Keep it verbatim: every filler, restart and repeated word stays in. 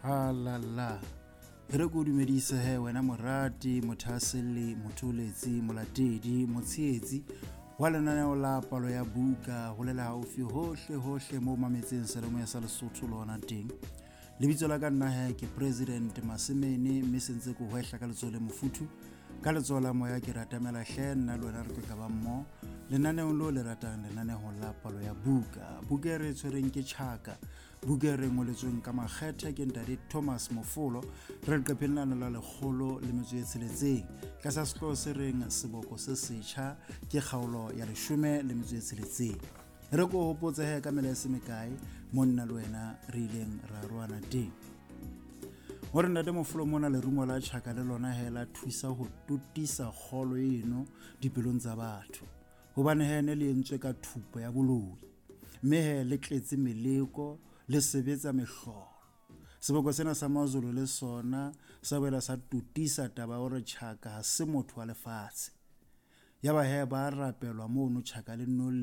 Alala e re ko dumedise he wena morati, mothahaselli, motholetsi, molatedi, motshehetsi wa lenaneo la Palo ya Buka holela haufi hohle hohle moo mametseng seyalemoya sa Lesotho le hona teng. Lebitso la ka nna he ke President Masemene, mme sentse ke hwehla ka letsoho le mofuthu, ka letsoho la moya ke ratamela hle nna le wena re tlo ka ba mmoho lenaneong leo le ratang, lenaneo la Palo ya Buka. Buka e re tshwereng ke Tjhaka, buka e re ngoletsweng ka makgethe ke ntate Thomas Mofolo, re leqepheng lano la lekgolo le metso e tsheletseng tlasa sehlooho se reng Seboko se Setjha, ke kgaolo ya leshome le metso e tsheletseng. Re ko hopotse he ka mela e se mekae mo nna le wena re ileng ra roana teng. Hore ntate Mofolo mona lerumo la tjhaka le lona he la thusa ho totisa kgolo eno dipelong tsa batho, hobane he ne le entswe ka thupo ya boloi, mme he le tletse meleko, le sebetsa mehlolo. Seboko sena sa Mazulu le sona sa boela sa totisa taba ya hore tjhaka ha se motho wa lefatshe. Yaba he ba rapelwa mono tjhaka le nno le